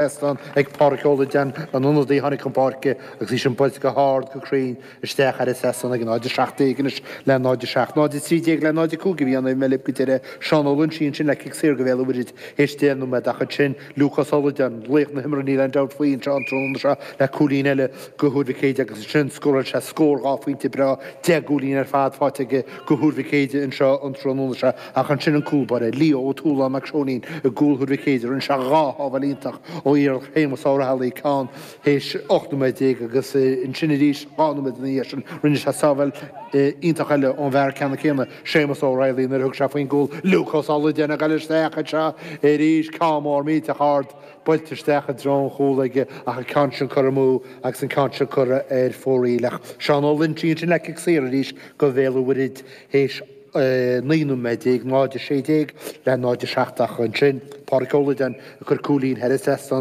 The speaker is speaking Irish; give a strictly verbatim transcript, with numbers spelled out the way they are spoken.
Trasnán ag Pádraic Ó Loideáin, an ionadaí a tháinig chun páirce agus í sin buailte go hard go cruinn isteach thar an trasnán ag náid a seacht déag anois le náid a seacht. Náid a trí déag le náid a cúig a bhí ann ag Meilip go deireadh. Seán Ó Loinsigh ansin le cic saor go Bhéal an Mhuirthead théis deich nóiméad ach ansin Lúcás Ó Loideáin, laoch na himeartha níl aon dabht faoi anseo an tráthnóna seo le cúilín eile go Thuar Mhic Éadaigh agus ansin scóráil sé scór dhá phointe breá, deich gcúilín ar fad faighte aige go Thuar Mhic Éadaigh anseo an tráthnóna seo ach ansin an cúl báire, Leo Ó Tualáin Mac Seoinín i gcúl Thuar Mhic Éadaigh, rinne sé dhá shábháil iontach ó iarracht Shéamus Ó Raghallaigh, ceann théis ocht nóiméad déag agus ansin arís dhá nóiméad ina dhiaidh sin rinne sé sábháil iontach eile ón bhfear ceanna céanna, Séamus Ó Raghallaigh, nuair a thug sé faoin gcúl. Lúcás Ó Loideáin ag dul isteach anseo arís, ceann mór millteach ard buailte isteach i dtreo an chúil aige ach an ceann sin curtha amú agus an ceann seo curtha ar fóraoil. Ach Seán Ó Loinsigh ansin le cic saor arís go Bhéal an Mhuirthead théis naoi nóiméad déag, náid a sé déag le náid a seacht ach ansin Pádraic Ó Loideáin ag cur cúilín thar an trasnán.